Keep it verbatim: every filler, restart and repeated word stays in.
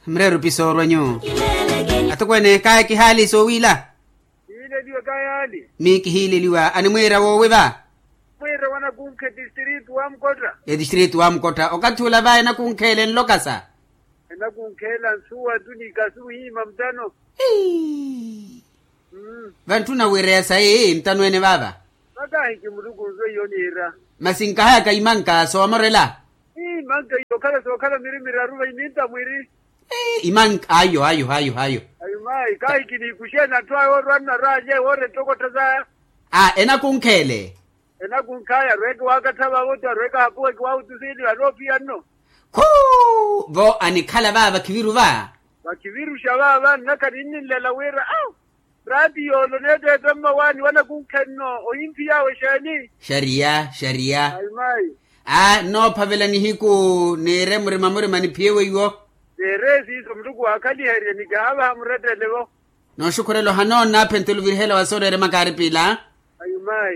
Mreerupi soorwa nyuwo? Atokweene kaaya kihaali soowiila. Kihiileliwa kayaani. Mi kihiileliwa animwiira woowi va? Mwiira wanakunkhe distritu wa mukotta. Etistritu wa mukotta okathi ula va enakunkheela enlokasa. Enakunkheela nsuwa tu ni kasu hiima mutano. Vantthuna wiireya sayi ntano ene vaava. Vakaahi ki muluku nzo iyo niira. Masi nkahayaka imanka soomorela. Imanka iyo okhala sookhala miri miraru vayi ninta mwiri. Imanka ayo ayo ayo ayo. Ayo mayi kaahi kiniikuxeena atthu ayo orwa nnaraalye woora ettokotta saya. A enakunkheele. Enakunkhaya arweeke waakattha vaavo ti arweeke ahapuwa kiwaahutusiiliwa anoopiya nno. Khuu vo anikhala vaava khiviru va. Vakhiviruxa vaava nnaka ninninlela wira au. Raati yoolo neeteete mmawaani wanakunkhe nno ohimphiya awe exeeni. Xariya xariya. Ayi mayi. A nnoophavela nihiku niire murima murima niphiye weiwo. Neere siiso muluku waakhaliherye nikihaavaha murettele vo. Nooxukhurela ohanoona aphentte oluvirihela wa sooreerya makaari piila. Ayi mayi.